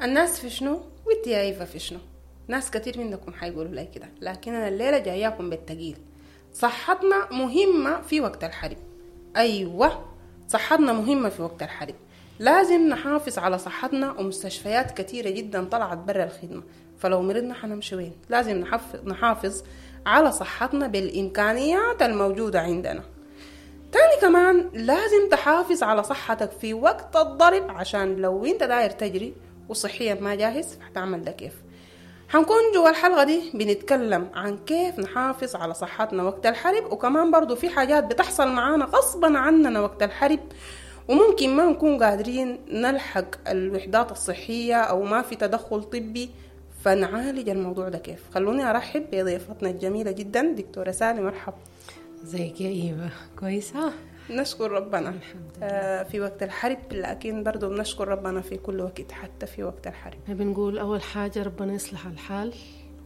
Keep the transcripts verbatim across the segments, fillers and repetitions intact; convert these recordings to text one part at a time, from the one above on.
الناس في شنو وانت يا ايفا في شنو؟ ناس كتير منكم حيقولوا لي كده، لكن انا الليلة جاياكم بالتقيل. صحتنا مهمة في وقت الحرب. ايوه صحتنا مهمة في وقت الحرب، لازم نحافظ على صحتنا، ومستشفيات كتيرة جدا طلعت برا الخدمة، فلو مرضنا حنمشي وين؟ لازم نحافظ على صحتنا بالإمكانيات الموجودة عندنا. تاني كمان لازم تحافظ على صحتك في وقت الضرب، عشان لو انت داير تجري وصحيا ما جاهز هتعمل ده كيف. حنكون جوا الحلقة دي بنتكلم عن كيف نحافظ على صحتنا وقت الحرب، وكمان برضو في حاجات بتحصل معانا غصبا عننا وقت الحرب، وممكن ما نكون قادرين نلحق الوحدات الصحية أو ما في تدخل طبي، فنعالج الموضوع ده كيف. خلوني أرحب بضيفتنا الجميلة جدا دكتورة سالي. مرحبا. ازيك يا إيفا؟ كويسة؟ نشكر ربنا الحمد لله. آه في وقت الحرب، لكن برضو بنشكر ربنا في كل وقت حتى في وقت الحرب. بنقول أول حاجة ربنا يصلح الحال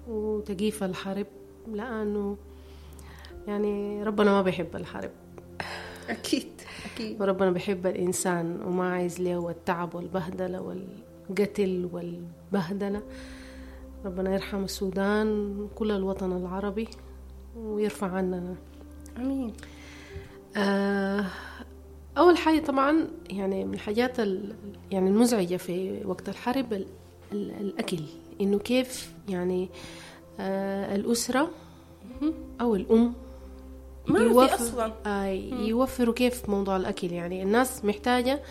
وتقيف الحرب، لأنه يعني ربنا ما بيحب الحرب. أكيد أكيد. وربنا بيحب الإنسان وما عايز له التعب والبهدلة والقتل والبهدلة. ربنا يرحم السودان وكل الوطن العربي ويرفع عننا. أمين. آه، أول حاجة طبعا يعني من الحاجات يعني المزعجة في وقت الحرب ال ال الأكل، إنه كيف يعني آه الأسرة أو الأم ما في أصلا آه يوفروا كيف موضوع الأكل. يعني الناس محتاجة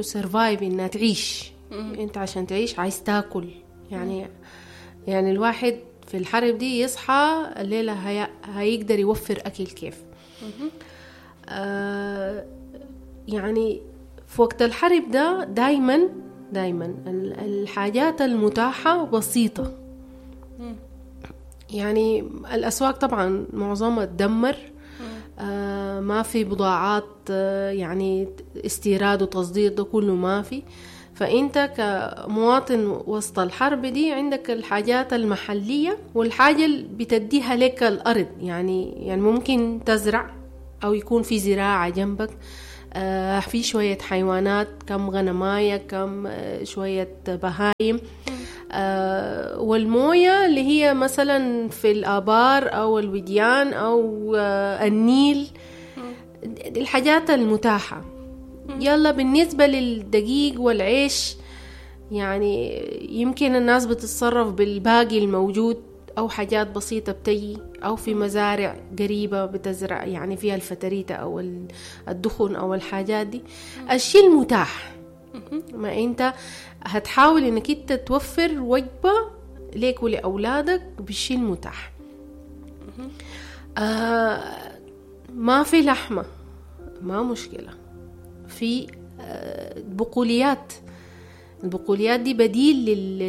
to survive، إنها تعيش. مم. أنت عشان تعيش عايز تاكل. يعني مم. يعني الواحد في الحرب دي يصحى الليلة هي... هيقدر يوفر أكل كيف. آه يعني في وقت الحرب ده دايما دايما الحاجات المتاحة بسيطة. يعني الأسواق طبعا معظمها تدمر، آه ما في بضاعات، آه يعني استيراد وتصدير ده كله ما في. فأنت كمواطن وسط الحرب دي عندك الحاجات المحلية والحاجة اللي بتديها لك الأرض. يعني يعني ممكن تزرع أو يكون في زراعة جنبك، آه في شوية حيوانات، كم غنماية، كم آه شوية بهايم، آه والموية اللي هي مثلا في الآبار أو الوديان أو آه النيل، الحاجات المتاحة. يلا بالنسبة للدقيق والعيش يعني يمكن الناس بتتصرف بالباقي الموجود أو حاجات بسيطة بتجي، أو في مزارع قريبة بتزرع يعني فيها الفتريتة أو الدخن أو الحاجات دي. الشيء المتاح، ما أنت هتحاول إنك أنت توفر وجبة ليك ولأولادك بالشيء المتاح. آه ما في لحمة ما مشكلة، في بقوليات. البقوليات دي بديل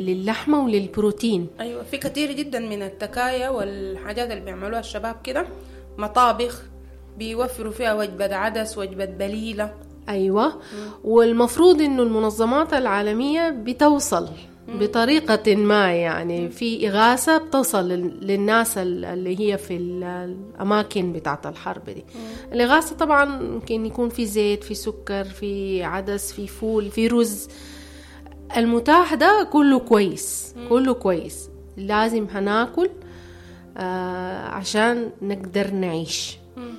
للحمة وللبروتين. أيوة، في كثير جدا من التكايا والحاجات اللي بيعملوها الشباب كده، مطابخ بيوفروا فيها وجبة عدس، وجبة بليلة. أيوة. مم. والمفروض إنه المنظمات العالمية بتوصل مم. بطريقة ما، يعني في إغاثة بتصل للناس اللي هي في الأماكن بتاعة الحرب دي. مم. الإغاثة طبعا ممكن يكون في زيت، في سكر، في عدس، في فول، في رز. المتاح ده كله كويس. مم. كله كويس، لازم هناكل آه عشان نقدر نعيش. مم.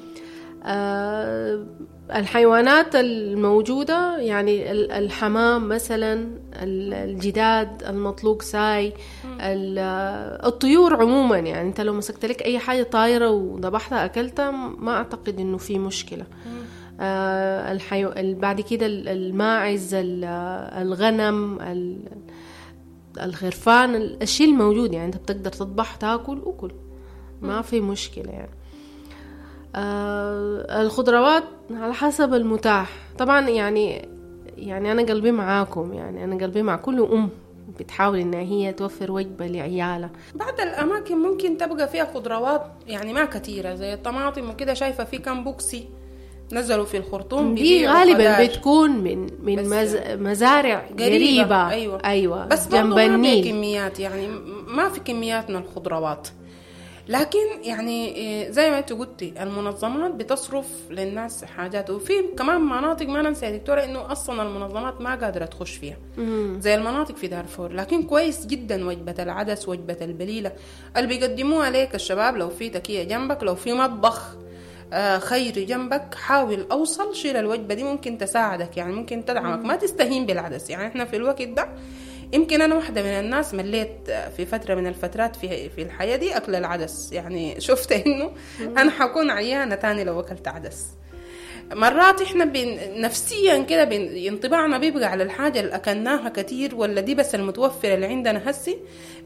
آه الحيوانات الموجودة يعني الحمام مثلا، الجداد المطلوق ساي، الطيور عموما. يعني انت لو مسكت لك اي حاجة طايرة وذبحتها اكلتها ما اعتقد انه في مشكلة. آه الحيو... بعد كده الماعز، الغنم، الخرفان، الشيء الموجود يعني انت بتقدر تذبح تاكل وكل، ما في مشكلة يعني. آه الخضروات على حسب المتاح طبعا. يعني يعني أنا قلبي معاكم، يعني أنا قلبي مع كل أم بتحاول إنها هي توفر وجبة لعيالها. بعض الأماكن ممكن تبقى فيها خضروات يعني ما كثيرة زي الطماطم وكده، شايفة في كم بوكسي نزلوا في الخرطوم دي غالبا خضار. بتكون من من مز... مزارع قريبة, قريبة. أيوة. أيوة بس جنب النيل. ما في كميات، يعني ما في كميات من الخضروات. لكن يعني إيه، زي ما انت قلتي المنظمات بتصرف للناس حاجات، وفي كمان مناطق ما ننسى يا دكتورة انه اصلا المنظمات ما قادرة تخش فيها زي المناطق في دارفور. لكن كويس جدا وجبة العدس، وجبة البليله اللي بيقدموها لك الشباب، لو في تكيه جنبك، لو في مطبخ آه، خيري جنبك، حاول اوصل شيل الوجبة دي، ممكن تساعدك يعني ممكن تدعمك. ما تستهين بالعدس. يعني احنا في الوقت ده يمكن انا واحدة من الناس مليت في فترة من الفترات في في الحياة دي اكل العدس، يعني شفت انه انا حكون عيانه تاني لو اكلت عدس. مرات احنا بين نفسيا كده بين انطباعنا بيبقى على الحاجة اللي اكلناها كتير ولا دي بس المتوفرة اللي عندنا هسي،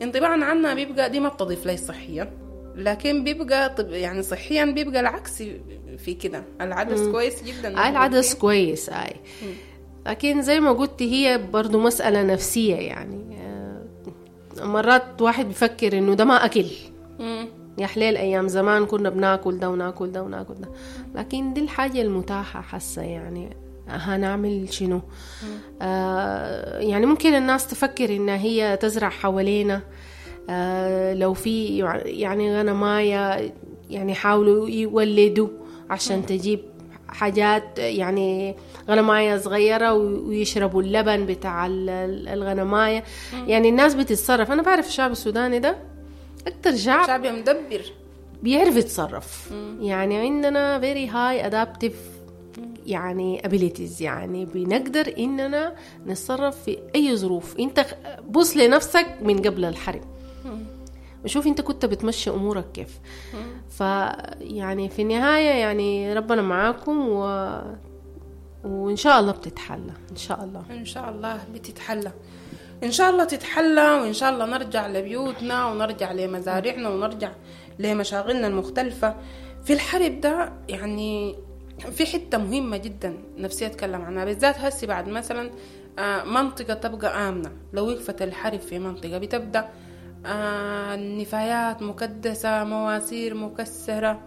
انطباعنا عنها بيبقى دي ما بتضيف لي صحيا، لكن بيبقى طب يعني صحيا بيبقى العكس في كده. العدس مم. كويس جدا. آه العدس كويس آي. لكن زي ما قلت هي برضو مسألة نفسية يعني. مرات واحد بيفكر انه ده ما اكل. مم. يا حليل ايام زمان كنا بناكل ده وناكل ده وناكل ده، لكن دي الحاجة المتاحة حاسة يعني هنعمل شنو. آه يعني ممكن الناس تفكر انها هي تزرع حوالينا، آه لو في يعني غنماية يعني حاولوا يولدوا عشان تجيب حاجات، يعني غنماية صغيرة ويشربوا اللبن بتاع الغنماية. يعني الناس بتتصرف. أنا بعرف الشعب السوداني ده أكتر شعب شعب مدبر بيعرف يتصرف. يعني عندنا very high adaptive يعني abilities، يعني بنقدر إننا نتصرف في أي ظروف. أنت بص لنفسك من قبل الحرب وشوف انت كنت بتمشي امورك كيف. فيعني في النهاية يعني ربنا معاكم و... وان شاء الله بتتحلى. ان شاء الله ان شاء الله بتتحلى، ان شاء الله تتحلى، وان شاء الله نرجع لبيوتنا ونرجع لمزارعنا ونرجع لمشاغلنا المختلفة. في الحرب ده يعني في حتة مهمة جدا نفسي اتكلم عنها بالذات هسي بعد مثلا منطقة تبقى آمنة. لو وقفت الحرب في منطقة بتبدأ آه، النفايات مكدسة، مواسير مكسرة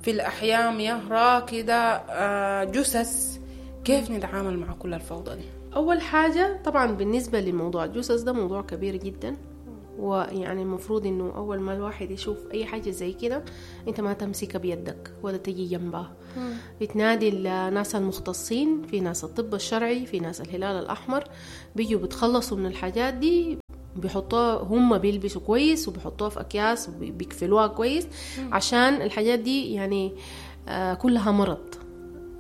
في الأحياء، مياه راكدة، آه، جثث. كيف نتعامل مع كل الفوضى دي؟ أول حاجة طبعا بالنسبة لموضوع الجثث ده موضوع كبير جدا، ويعني المفروض إنه أول ما الواحد يشوف أي حاجة زي كده أنت ما تمسكها بيدك ولا تجي جنبها. بتنادي الناس المختصين، في ناس الطب الشرعي، في ناس الهلال الأحمر، بيجوا بتخلصوا من الحاجات دي، بيحطوها هم بيلبسوا كويس وبيحطوها في أكياس وبيكفلوها كويس، عشان الحاجات دي يعني آه كلها مرض.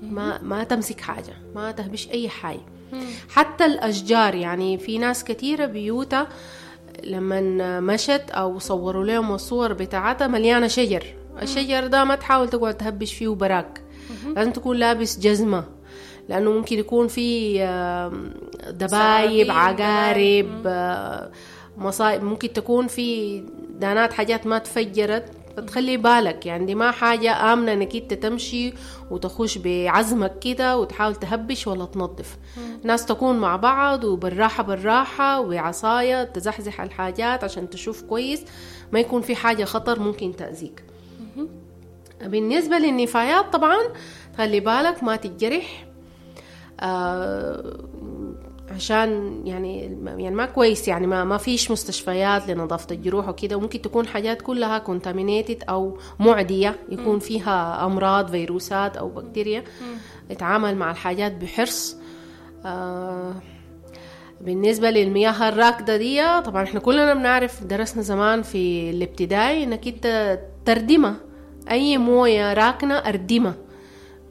ما ما تمسك حاجة، ما تهبش أي حاجة. حتى الأشجار، يعني في ناس كثيرة بيوتها لما مشت أو صوروا لهم الصور بتاعتها مليانة شجر. الشجر ده ما تحاول تقعد تهبش فيه براك، لازم تكون لابس جزمة، لأنه ممكن يكون في دبايب، عقارب، مصائب، ممكن تكون في دانات، حاجات ما تفجرت، فتخلي بالك. يعني دي ما حاجة آمنة انك انت تمشي وتخش بعزمك كده وتحاول تهبش ولا تنظف. ناس تكون مع بعض وبالراحة بالراحة وعصاية تزحزح الحاجات عشان تشوف كويس، ما يكون في حاجة خطر ممكن تأذيك. بالنسبة للنفايات طبعا خلي بالك ما تتجرح، آه عشان يعني يعني ما كويس، يعني ما ما فيش مستشفيات لنظافة الجروح وكده، وممكن تكون حاجات كلها contaminated أو معدية، يكون فيها أمراض، فيروسات أو بكتيريا. اتعامل مع الحاجات بحرص. آه بالنسبة للمياه الراكدة دي طبعا احنا كلنا بنعرف، درسنا زمان في الابتدائي انك انت تردمة اي موية راكنة، اردمة،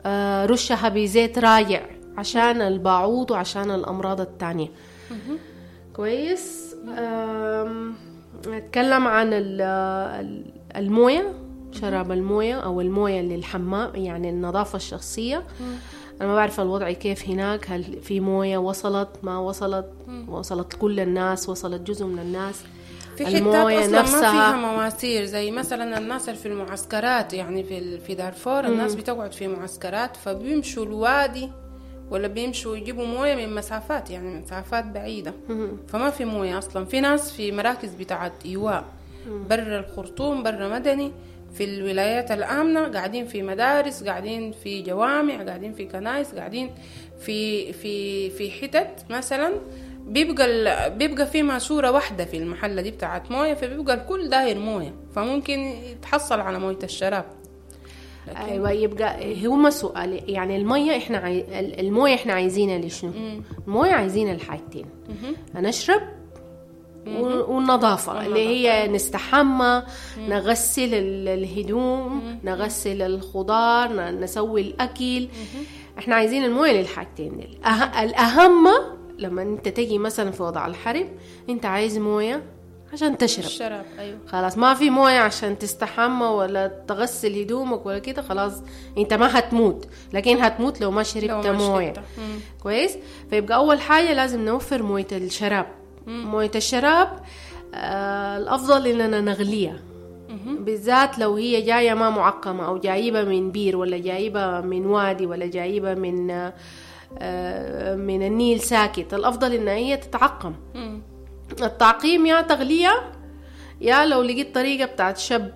آه رشها بزيت راجع عشان الباعوض وعشان الأمراض التانية. كويس. نتكلم عن الموية، شراب الموية أو الموية للحمام، يعني النظافة الشخصية. أنا ما بعرف الوضع كيف هناك، هل في موية وصلت ما وصلت، وصلت كل الناس، وصلت جزء من الناس؟ في حتات أصلا ما فيها مواسير، زي مثلا الناس في المعسكرات، يعني في في دارفور الناس بتقعد في معسكرات، فبيمشوا الوادي ولا بيمشوا يجيبوا موية من مسافات، يعني مسافات بعيدة، فما في موية أصلا. في ناس في مراكز بتاعت إيواء برا الخرطوم، برا مدني، في الولايات الآمنة، قاعدين في مدارس، قاعدين في جوامع، قاعدين في كنائس، قاعدين في في في حتت مثلا بيبقى ال... بيبقى في ماسوره واحدة في المحلة دي بتاعت مويه، فبيبقى الكل داير مويه، فممكن يتحصل على مويه الشراب. لكن... ايوه، يبقى هما سؤال يعني المية احنا عاي... المويه احنا عايزينها لشنو؟ المويه عايزينها لحاجتين، نشرب والنظافة اللي هي نستحمى، نغسل الهدوم، نغسل الخضار، نسوي الأكل. احنا عايزين المويه للحاجتين دي. أه... الأهم لما انت تجي مثلا في وضع الحرب انت عايز مويه عشان تشرب الشراب. ايوه خلاص، ما في مويه عشان تستحمى ولا تغسل هدومك ولا كده، خلاص انت ما هتموت، لكن هتموت لو ما شربت مويه. كويس. فيبقى اول حاجة لازم نوفر مويه الشراب. مويه الشراب آه الافضل اننا نغليها، بالذات لو هي جاية ما معقمه او جايبه من بير ولا جايبه من وادي ولا جايبه من آه من النيل ساكت، الافضل ان هي تتعقم. مم. التعقيم يا تغليه يا لو لقيت طريقه بتاعت شب.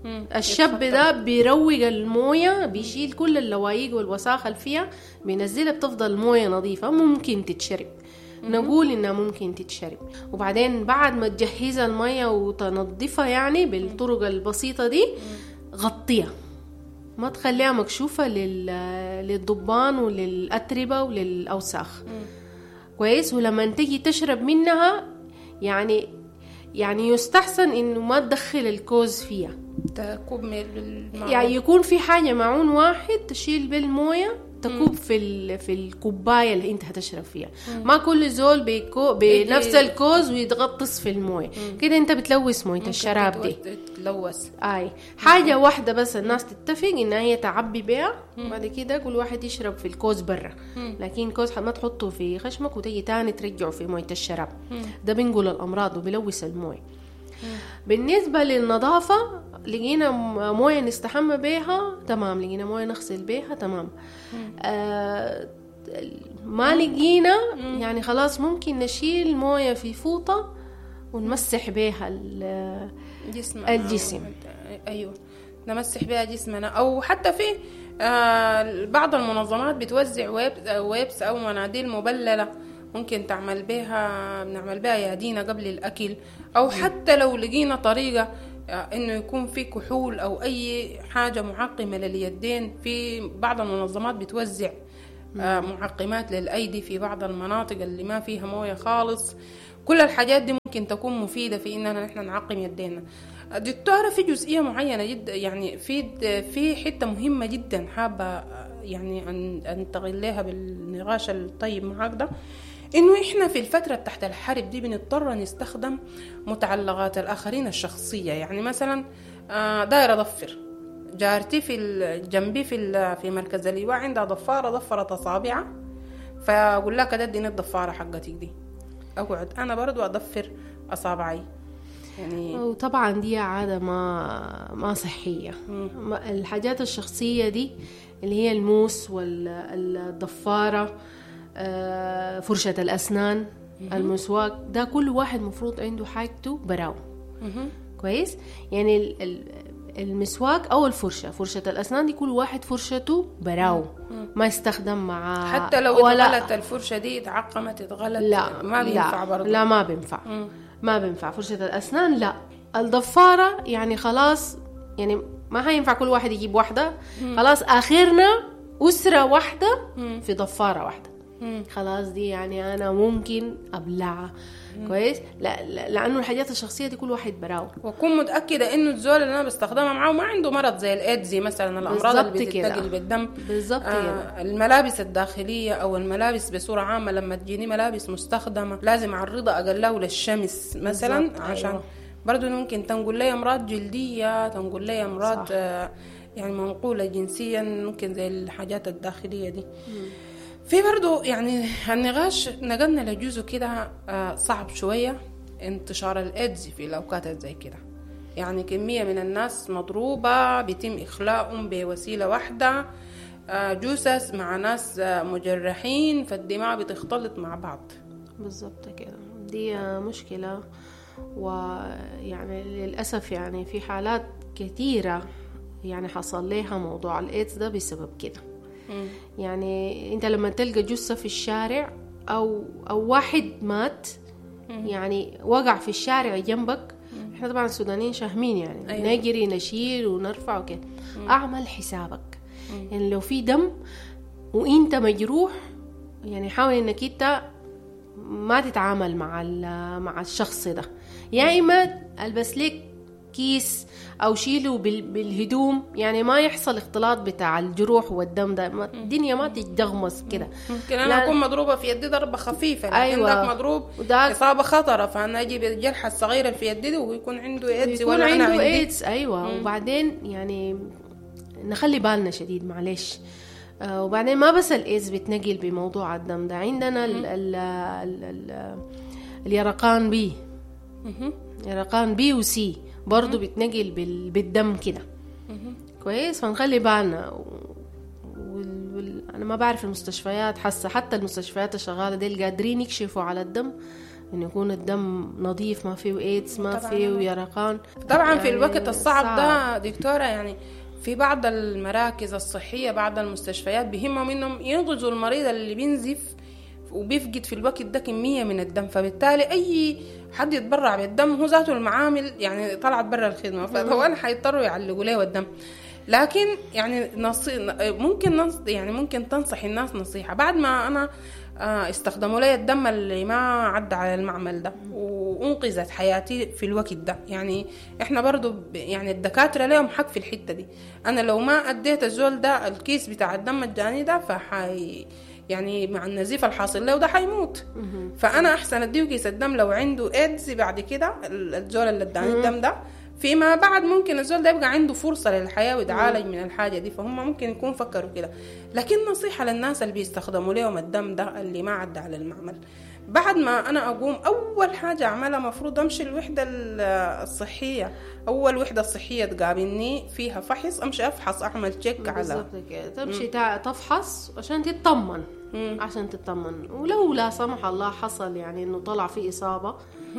مم. الشب ده بيروق المويه، بيشيل كل اللوايق والوساخه اللي فيها، بينزلها، بتفضل المويه نظيفة ممكن تتشرب. نقول انها ممكن تتشرب. وبعدين بعد ما تجهزها المية وتنظفها يعني بالطرق البسيطة دي، غطيها، ما تخليها مكشوفة لل... للضبان وللأتربة وللأوساخ. كويس. ولما تجي تشرب منها يعني يعني يستحسن انه ما تدخل الكوز فيها، تكوب بالمعون. يعني يكون في حاجة معون واحد تشيل بالموية تكوب في في الكوباية اللي انت هتشرب فيها. مم. ما كل زول بيكو بنفس الكوز ويتغطس في المويه كده، انت بتلوث مويه الشراب دي، تلوث. اي حاجة واحدة بس الناس تتفق ان هي تعبي بيها، بعد كده كل واحد يشرب في الكوز برا، لكن كوز ما تحطه في خشمك وتيجي تاني ترجعه في مويه الشراب. مم. ده بنقول الامراض وبيلوث المويه. بالنسبة للنظافه، لقينا مويه نستحمى بيها تمام، لقينا مويه نغسل بيها تمام. آه ما لقينا يعني خلاص ممكن نشيل مويه في فوطه ونمسح بيها الجسم. الجسم ايوه، نمسح بيها جسمنا. او حتى في آه بعض المنظمات بتوزع wipes او مناديل مبلله، ممكن تعمل بها، بنعمل بها يدينا قبل الاكل. او حتى لو لقينا طريقه انه يكون في كحول او اي حاجة معقمه لليدين، في بعض المنظمات بتوزع معقمات للايدي في بعض المناطق اللي ما فيها مويه خالص. كل الحاجات دي ممكن تكون مفيدة في اننا نحن نعقم يدينا. دكتورة، في جزئية معينة جدا يعني في في حتة مهمة جدا حابة يعني ان انتقل لها بالنقاش الطيب معاك ده، انه احنا في الفترة تحت الحرب دي بنضطر نستخدم متعلقات الاخرين الشخصية. يعني مثلا دايرة ضفر، جارتي في جنبي في في مركز اللواء عندها ضفاره، ضفرت اصابعها، فاقول لها كده اديني الضفاره حقتك دي، اقعد انا برضو اضفر اصابعي يعني. وطبعا دي عادة ما ما صحية. مم. الحاجات الشخصية دي اللي هي الموس والضفاره، فرشة الأسنان، المسواك، ده كل واحد مفروض عنده حاجته براو. كويس. يعني المسواك أو الفرشة، فرشة الأسنان دي كل واحد فرشته براو، ما يستخدم مع، حتى لو اتغلت الفرشة دي، اتعقمت اتغلت، لا ما بينفع برضو. لا ما بينفع. مم. ما بينفع فرشة الأسنان، لا. الضفارة يعني خلاص، يعني ما هينفع كل واحد يجيب واحدة. مم. خلاص آخرنا أسرة واحدة مم. في ضفارة واحدة. مم. خلاص دي يعني أنا ممكن أبلعها. كويس. لا, لا لأنه الحاجات الشخصية دي كل واحد براو، وأكون متأكدة إنه الزول اللي أنا بستخدمها معه ما عنده مرض زي الإيدز مثلا، الأمراض اللي بتنتقل بالدم. بالضبط آه كده. الملابس الداخلية أو الملابس بصورة عامة، لما تجيني ملابس مستخدمة لازم أعرضها أقله للشمس مثلا، عشان أيوة. برضو ممكن تنقل لي أمراض جلدية، تنقل لي أمراض آه يعني منقولة جنسيا، ممكن زي الحاجات الداخلية دي. مم. في برضو يعني النقاش نقلنا لجزء كده صعب شوية، انتشار الإيدز في الأوقات زي كده. يعني كمية من الناس مضروبة، بيتم إخلاءهم بوسيلة واحدة، جثث مع ناس مجرحين، فالدماء بتختلط مع بعض. بالضبط كده، دي مشكلة. ويعني للأسف يعني في حالات كثيرة يعني حصل لها موضوع الإيدز ده بسبب كده. مم. يعني انت لما تلقى جثة في الشارع او او واحد مات يعني وقع في الشارع جنبك، احنا طبعا السودانيين شاهمين يعني، أيوة. نجري نشيل ونرفع وكده. اعمل حسابك يعني لو في دم وانت مجروح، يعني حاول انك انت ما تتعامل مع مع الشخص ده، يا اما البس لك كيس او شيله بالهدوم، يعني ما يحصل اختلاط بتاع الجروح والدم ده، الدنيا ما تتدغمس كده. ممكن انا اكون مضروبة في يدي ضربه خفيفة، لكن أيوة. داك مضروب اصابه خطره، فانا اجيب الجرحى الصغيرة في يدي ويكون عنده ايدز ولا انا عنده ايدز. ايوه. مم. وبعدين يعني نخلي بالنا شديد معلش. آه وبعدين ما بس الايدز بتنقل بموضوع الدم ده، عندنا ال ال ال ال اليرقان B، يرقان B و C برضو بتنقل بالدم كده. كويس، فنخلي بالنا. وال... وال... انا ما بعرف المستشفيات حاسه، حتى المستشفيات الشغاله دي قادرين يكشفوا على الدم انه يكون الدم نظيف، ما فيه ايدز، ما فيه يرقان. طبعا يعني في الوقت الصعب صعب. ده دكتورة، يعني في بعض المراكز الصحية، بعض المستشفيات بيهمهم انهم ينقذوا المريض اللي بينزف وبيفقد في الوقت ده كمية من الدم، فبالتالي أي حد يتبرع بالدم هو ذاته المعامل يعني طلعت برا الخدمة، فطبعا حيضطروا يعلقوا له الدم. لكن يعني نصي ممكن نص يعني ممكن تنصح الناس نصيحة بعد ما أنا استخدموا لي الدم اللي ما عدى على المعمل ده وأنقذت حياتي في الوقت ده. يعني إحنا برضو يعني الدكاترة لهم حق في الحتة دي. أنا لو ما أديت الزول ده الكيس بتاع الدم الجاني ده فحي يعني مع النزيف الحاصل له ده حيموت. فأنا أحسن أديه كيس الدم لو عنده إيدز بعد كده، الزول اللي اداني الدم ده فيما بعد ممكن الزول ده يبقى عنده فرصة للحياة ويتعالج من الحاجة دي، فهم ممكن يكون فكروا كده. لكن نصيحة للناس اللي بيستخدموا لهم الدم ده اللي ما عدى على المعمل، بعد ما أنا أقوم أول حاجة أعملها مفروض أمشي الوحدة الصحية، أول وحدة صحية تقابلني فيها فحص، أمشي أفحص، أعمل تشيك على بالضبط كده، تمشي تفحص عشان تطمن. مم. عشان تطمن، ولو لا سمح الله حصل يعني إنه طلع في إصابة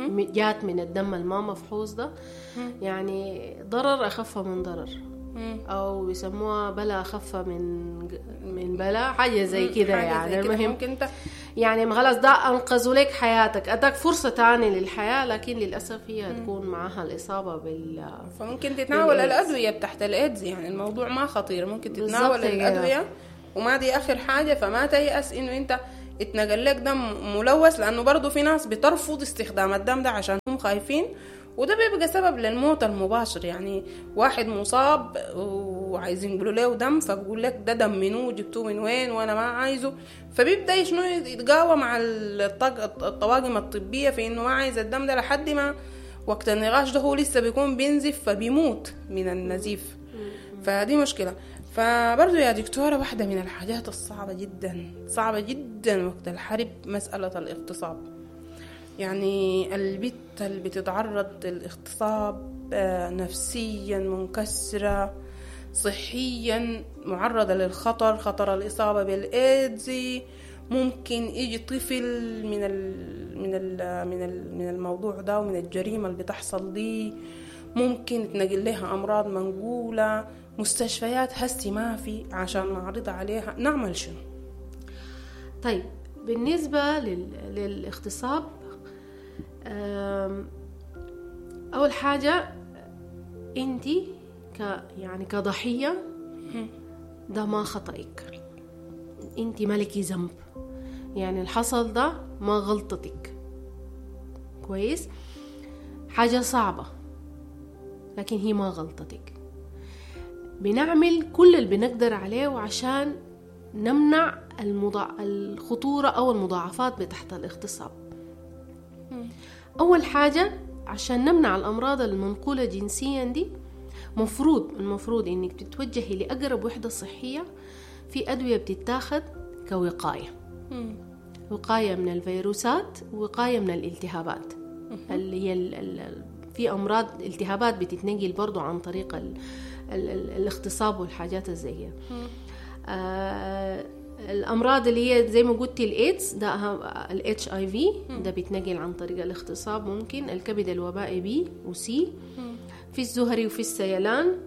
جات من الدم الما مفحوص ده، مم. يعني ضرر أخف من ضرر، مم. أو يسموها بلا أخف من من بلا، حاجة زي كده يعني. المهم ممكن انت يعني خلاص ده أنقذوا لك حياتك، أداك فرصة تانية للحياة، لكن للأسف هي تكون معها الإصابة بال فممكن تتناول الأدوية بتاعت الإيدز، يعني الموضوع ما خطير، ممكن تتناول الأدوية وما دي آخر حاجة. فما تيأس إنه أنت اتنقل لك دم ملوث، لأنه برضو في ناس بترفض استخدام الدم ده عشان هم خايفين، وده بيبقى سبب للموت المباشر. يعني واحد مصاب وعايزين يقولوا له دم، فبقول لك ده دم منو، جبتوه من وين، وانا ما عايزه، فبيبدا شنو يتقاوى مع الطواقم الطبية في انه ما عايز الدم ده، لحد ما وقت النقاش ده هو لسه بيكون بينزف فبيموت من النزيف. فدي مشكلة. فبرضو يا دكتورة، واحدة من الحاجات الصعبة جدا صعبة جدا وقت الحرب مسألة الاغتصاب. يعني البت اللي بتتعرض للاغتصاب نفسيا منكسرة، صحيا معرضة للخطر، خطر الإصابة بالإيدز، ممكن يجي طفل من ال من ال من ال من الموضوع ده ومن الجريمة اللي بتحصل دي، ممكن تنقل لها أمراض منقولة، مستشفيات هسي ما في عشان نعرض عليها، نعمل شنو؟ طيب بالنسبة لل... للاغتصاب، أول حاجة أنتي ك يعني كضحية ده ما خطأك، أنتي مالكي ذنب، يعني الحصل ده ما غلطتك. كويس، حاجة صعبة لكن هي ما غلطتك. بنعمل كل اللي بنقدر عليه عشان نمنع المضا... الخطورة أو المضاعفات بتحت الاغتصاب. أول حاجة عشان نمنع الأمراض المنقولة جنسيا دي، مفروض المفروض إنك تتوجهي لأقرب وحدة صحية. في أدوية بتتاخد كوقاية، وقاية من الفيروسات، وقاية من الالتهابات اللي هي ال... ال... في أمراض التهابات بتتنقل برضو عن طريق ال... ال... ال... الاغتصاب والحاجات الزي. آه الأمراض اللي هي زي ما قلتي الإيدز ده، ال إتش آي في ده بيتنقل عن طريق الاغتصاب، ممكن الكبد الوبائي B و C، في الزهري وفي السيلان،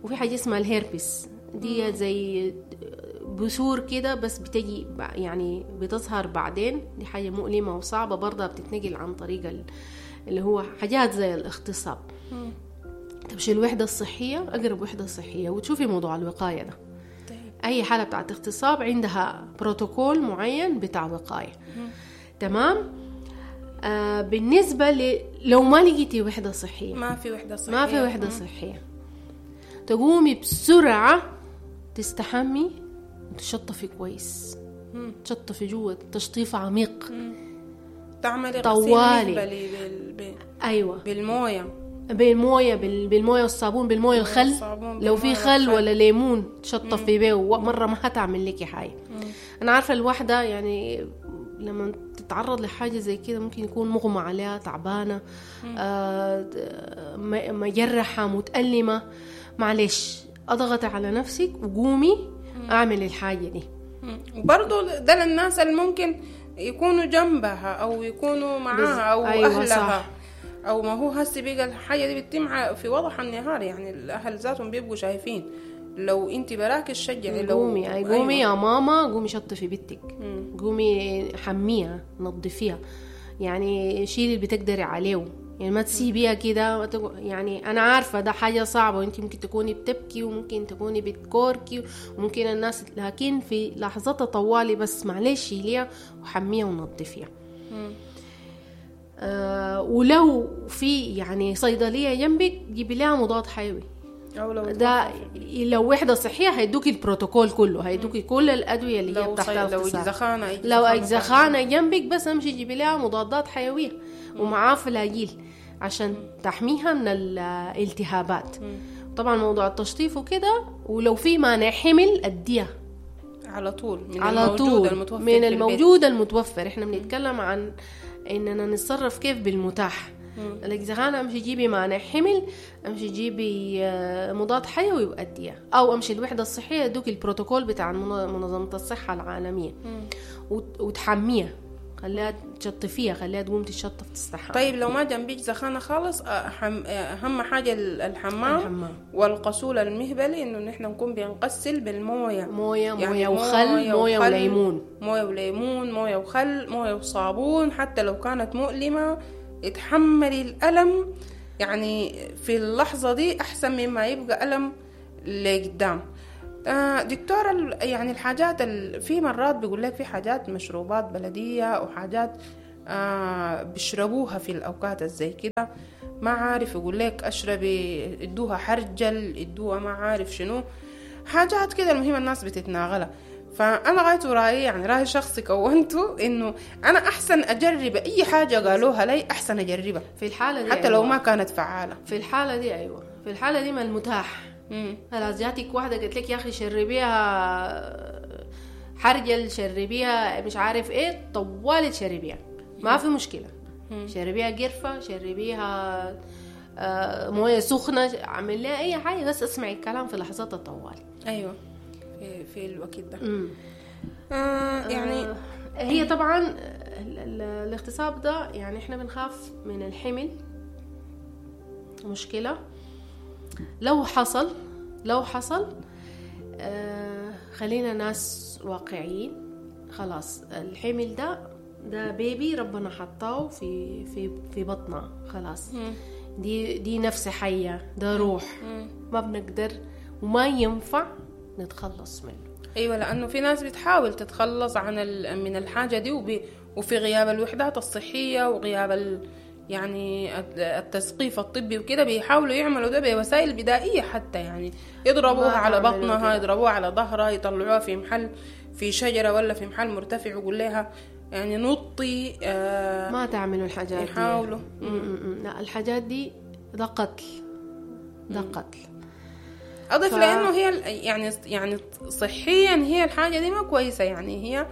وفي حاجة اسمها الهيربس دي زي بثور كده بس بتجي يعني بتظهر بعدين، دي حاجة مؤلمة وصعبة برضها، بتتنقل عن طريق اللي هو حاجات زي الاغتصاب. مم. تمشي الوحدة الصحية، أقرب وحدة صحية، وتشوفي موضوع الوقاية ده. طيب. أي حالة بتاعت اغتصاب عندها بروتوكول معين بتاع وقاية. مم. تمام. آه بالنسبة ل... لو ما لقيتي وحدة صحية، ما في وحدة صحية، ما في وحدة مم. صحية، تقومي بسرعة تستحمي وتشطفي كويس. مم. تشطفي جوا تشطيف عميق. مم. تعملي غسيل طوالي. مهبلي بال... بال... أيوة، بالموية، بالمويه، بال... بالمويه والصابون، بالمويه الخل، والصابون، لو في بالموية خل والخل. ولا ليمون تشطفي بيه مرة ما هتعمل لك حاجة. مم. أنا عارفة الوحدة يعني لما تتعرض لحاجة زي كده ممكن يكون مغمى عليها، تعبانة، آه، مجرحة، متألمة، معلش أضغطي على نفسك وقومي أعمل الحاجة دي. وبرضو ده للناس اللي ممكن يكونوا جنبها أو يكونوا معاها أو أيوة أهلها. صح. أو ما هو هسي بقى الحاجة دي بتتم في وضح النهار، يعني الأهل ذاتهم بيبقوا شايفين. لو انت براك تشجعي، لو قومي أي قومي أيوة. يا ماما، قومي شطفي بنتك، مم. قومي حميها، نظفيها، يعني شيلي اللي بتقدري عليه، يعني ما تسيبيها كده. يعني انا عارفه ده حاجة صعبة، وانت ممكن تكوني بتبكي وممكن تكوني بتكوركي وممكن الناس، لكن في لحظتها طوالي بس معلش شيليها وحميها ونظفيها. آه ولو في يعني صيدلية جنبك جيبي لها مضاد حيوي، أو لو ده لو وحدة صحية هيدوكي البروتوكول كله، هيدوكي كل الأدوية اللي هي لو بتحت صي... لو الاغتصاب. أجزخانة لو أجزخانة جنبك بس امشي جيبي لها مضادات حيوية ومعاه فلاجيل عشان تحميها من الالتهابات. مم. طبعا موضوع التشطيف وكده، ولو في مانع حمل أديها على طول من على الموجود طول المتوفر من في البيت. الموجود المتوفر. احنا بنتكلم عن اننا نتصرف كيف بالمتاح. الأجزخانة امشي جيبي مانع حمل، امشي جيبي مضاد حيوي وأديها، او امشي الوحدة الصحية يدوك البروتوكول بتاع منظمة الصحة العالمية وتحميها، خليها تشطفيها، خليها تقوم تشطف تستحمى. طيب لو ما جنبيك زخانة خالص، أهم حاجة الحمام, الحمام والغسول المهبلي، إنه نحن نكون بنغسل بالموية، موية يعني موية وخل، موية وليمون، موية وليمون، موية وخل، موية وصابون. حتى لو كانت مؤلمة اتحملي الألم، يعني في اللحظة دي أحسن مما يبقى ألم لقدام. دكتورة، يعني الحاجات في مرات بيقول لك في حاجات مشروبات بلدية وحاجات بيشربوها في الأوقات زي كده، ما عارف يقول لك أشربي، ادوها حرجل، ادوها ما عارف شنو، حاجات كده. المهم الناس بتتناغلها. فأنا غايته رأيي، يعني رأي شخصي كونته، إنه أنا أحسن أجرب أي حاجة قالوها لي، أحسن أجربها في الحالة دي، حتى أيوة. لو ما كانت فعالة في الحالة دي. أيوة في الحالة دي ما المتاح. خلاص جاتك واحدة قالت لك يا أخي شربيها حرجل، شربيها مش عارف إيه، طوالي تشربيها ما في مشكلة. مم. شربيها قرفة، شربيها موية سخنة، عمل لها أي حاجة، بس اسمعي الكلام في لحظات الطوالي. أيوة في, في الوقت ده. آه يعني آه هي طبعا الاغتصاب ده يعني احنا بنخاف من الحمل، مشكلة لو حصل، لو حصل آه خلينا ناس واقعيين. خلاص الحمل ده ده بيبي ربنا حطاه في في في بطنه، خلاص مم. دي دي نفس حية، ده روح، مم. ما بنقدر وما ينفع نتخلص منه. ايوه، لانه في ناس بتحاول تتخلص عن من الحاجة دي، وب... وفي غياب الوحدات الصحية وغياب ال... يعني التثقيف الطبي وكده، بيحاولوا يعملوا ده بوسائل بدائية، حتى يعني يضربوها على بطنها، يضربوها على ظهرها، يطلعوها في محل في شجرة ولا في محل مرتفع ويقول لها يعني نطي. آه ما تعملوا الحاجات دي، يحاولوا. لا الحاجات دي ده قتل، ده قتل. أضيف ف... لأنه هي يعني يعني صحيا هي الحاجة دي ما كويسة، يعني هي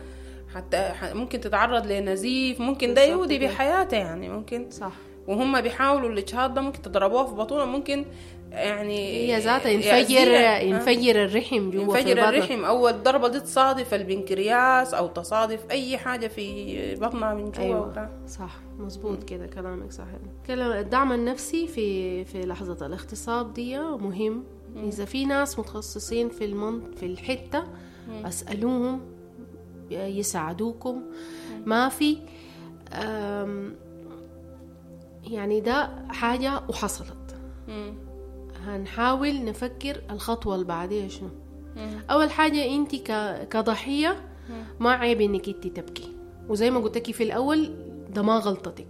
حتى ممكن تتعرض لنزيف، ممكن ده يودي بحياته يعني، ممكن صح. وهم بيحاولوا الاجهاض ده ممكن تضربوها في بطونه، ممكن يعني هي ذاتها ينفجر ينفجر الرحم جوا، ينفجر الرحم، او الضربة دي تصادف البنكرياس او تصادف اي حاجة في بطنها من جوا. أيوة. صح مظبوط كده كلامك صح. كلام الدعم النفسي في في لحظة الاغتصاب دي مهم. اذا في ناس متخصصين في المنط في الحتة اسألوهم يساعدوكم. ما في يعني ده حاجة وحصلت. هنحاول نفكر الخطوة اللي بعديها شنو. أول حاجة أنت كضحية ما عيب إنك أنت تبكي، وزي ما قلت لك في الأول ده ما غلطتك،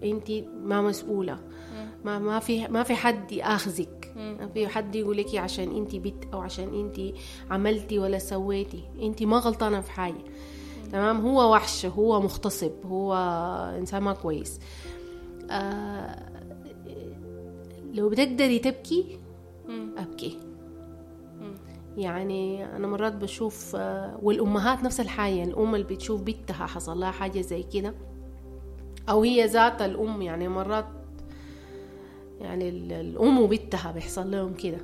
أنت ما مسؤولة، ما ما في ما في حد ياخذك، ما في حد يقول لك عشان أنت بنت أو عشان أنت عملتي ولا سويتي، أنت ما غلطانة في حاجة. تمام، هو وحش، هو مغتصب، هو إنسان ما كويس. آه لو بتقدري تبكي أبكي. يعني أنا مرات بشوف، والأمهات نفس الحاجة، الأم اللي بتشوف بنتها حصل لها حاجة زي كده، أو هي ذات الأم، يعني مرات يعني الأم وبنتها بيحصل لهم كده.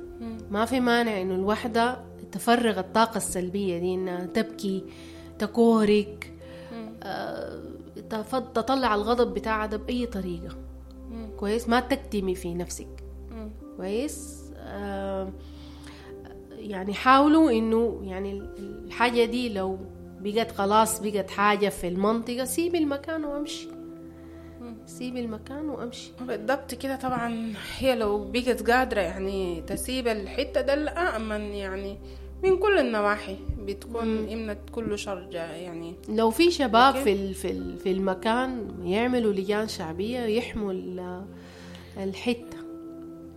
ما في مانع إنه الوحدة تفرغ الطاقة السلبية دي، إنها تبكي، تكورك، آه، تطلع الغضب بتاعها ده بأي طريقة. كويس، ما تكتمي في نفسك. كويس، آه يعني حاولوا إنه يعني الحاجة دي لو بقت خلاص بقت حاجة في المنطقة، سيبي المكان وامشي، سيبي المكان وامشي. بالضبط كده. طبعا هي لو بقت قادرة يعني تسيب الحتة ده الأأمن يعني من كل النواحي، بتكون إمنة كل شر. يعني لو في شباب في في في المكان يعملوا لجان شعبية يحموا الحتة،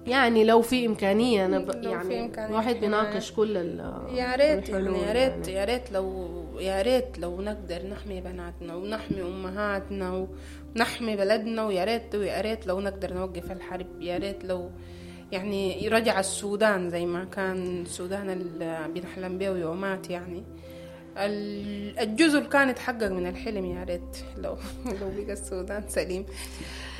يعني لو في إمكانية. أنا ب... يعني الواحد بيناقش كل ال يا ريت يعني يا ريت يا ريت لو يا ريت لو نقدر نحمي بناتنا ونحمي أمهاتنا ونحمي بلدنا، ويا ريت ويا ريت لو نقدر نوقف الحرب، يا ريت لو يعني رجع السودان زي ما كان السودان اللي بنحلم به يومات. يعني الجزء اللي كان يتحقق من الحلم، يا ريت لو لو بقى السودان سليم.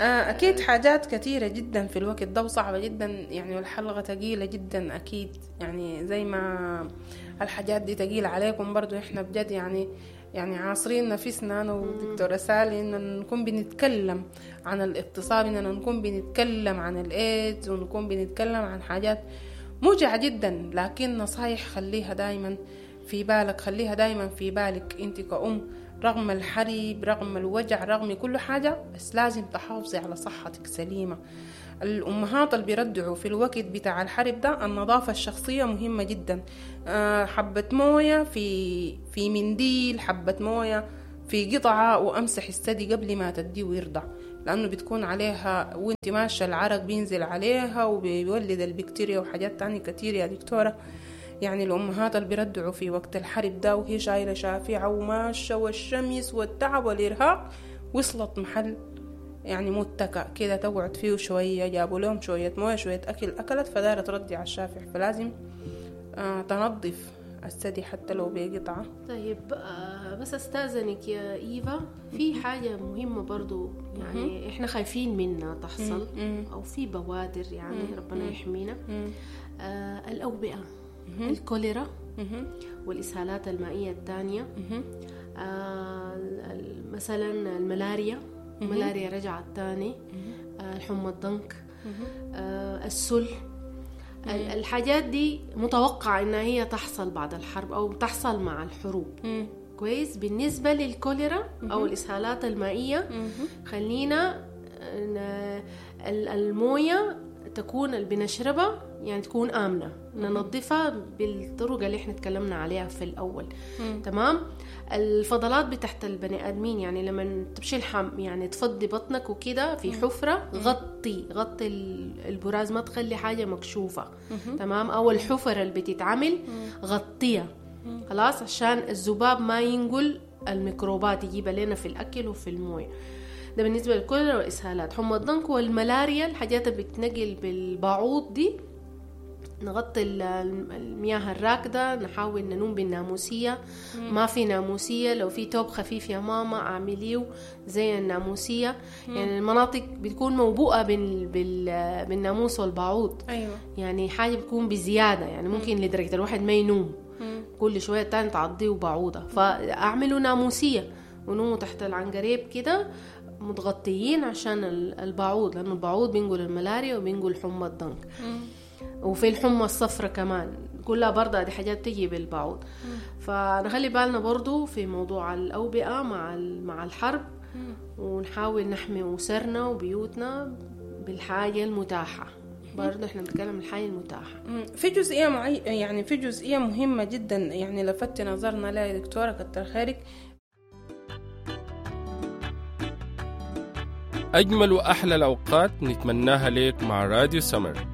أكيد حاجات كثيرة جدا في الوقت ده وصعبة جدا يعني، والحلقة ثقيلة جدا أكيد، يعني زي ما الحاجات دي ثقيلة عليكم برضو إحنا بجد يعني يعني عاصرين نفسنا أنا ودكتورة سالي إن نكون بنتكلم عن الاغتصاب، إننا نكون بنتكلم عن الإيدز، ونكون بنتكلم عن حاجات موجعة جدا، لكن نصايح خليها دايما في بالك، خليها دايما في بالك انت كأم، رغم الحرب، رغم الوجع، رغم كل حاجة، بس لازم تحافظي على صحتك سليمة. الأمهات اللي بيردعوا في الوقت بتاع الحرب ده، النظافة الشخصية مهمة جدا. حبة موية في في منديل، حبة موية في قطعة، وأمسح الثدي قبل ما تديه ويرضع، لأنه بتكون عليها وانت ماشية العرق بينزل عليها وبيولد البكتيريا وحاجات تانية كتير يا دكتورة. يعني الأمهات اللي بيردعوا في وقت الحرب ده وهي شايلة شافعة وماشية والشمس والتعب والإرهاق، وصلت محل يعني متكأ كده تقعد فيه شوية، جابوا لهم شوية موية شوية أكل أكلت، فدارة تردي على الشافع، فلازم آه تنظف الثدي حتى لو بقطعة. طيب آه بس أستاذنك يا إيفا في حاجة مهمة برضو يعني إحنا خايفين منها تحصل أو في بوادر يعني ربنا يحمينا، آه الأوبئة، الكوليرا والإسهالات المائية الثانية، آه مثلا الملاريا، الملاريا رجعت تاني، آه الحمى الضنك، آه السل، الحاجات دي متوقع إنها هي تحصل بعد الحرب أو تحصل مع الحروب. كويس. بالنسبة للكوليرا أو الإسهالات المائية، خلينا الموية تكون اللي بنشربها يعني تكون آمنة، ننظفها بالطرق اللي احنا تكلمنا عليها في الأول. مم. تمام. الفضلات بتحت البني آدمين، يعني لما تمشي الحم يعني تفضي بطنك وكده في حفرة، غطي غطي البراز، ما تخلي حاجة مكشوفة. مم. تمام. أو الحفرة اللي بتتعمل غطيها خلاص، عشان الذباب ما ينقل الميكروبات يجيبها لنا في الأكل وفي الموية. ده بالنسبة للكوليرا والإسهالات. حمى الضنك والملاريا، الحاجات اللي بتنقل بالبعوض دي، نغطي المياه الراكدة، نحاول ننوم بالناموسية. مم. ما في ناموسية، لو في توب خفيف يا ماما اعمليه زي الناموسية. مم. يعني المناطق بتكون موبوءة بال... بال... بالناموس والبعوض. أيوة. يعني حاجة بتكون بزيادة، يعني ممكن مم. لدرجة الواحد ما ينوم. مم. كل شوية تاني تعضيه بعوضة، فأعملوا ناموسية ونوموا تحت العنقريب كده متغطيين عشان البعوض، لأنه البعوض بينقل الملاريا وبينقل حمى الضنك. وفي الحمى الصفرة كمان. كلها برضه دي حاجات تجي بالبعوض. فنخلي بالنا برضو في موضوع الأوبئة مع مع الحرب، ونحاول نحمي أسرنا وبيوتنا بالحاجة المتاحة. برضه احنا بنتكلم الحاجة المتاحة. في جزئية معي يعني في جزئية مهمة جدا يعني لفت نظرنا لها يا دكتورة، كتر خيرك. أجمل وأحلى الأوقات نتمناها لك مع راديو سمر.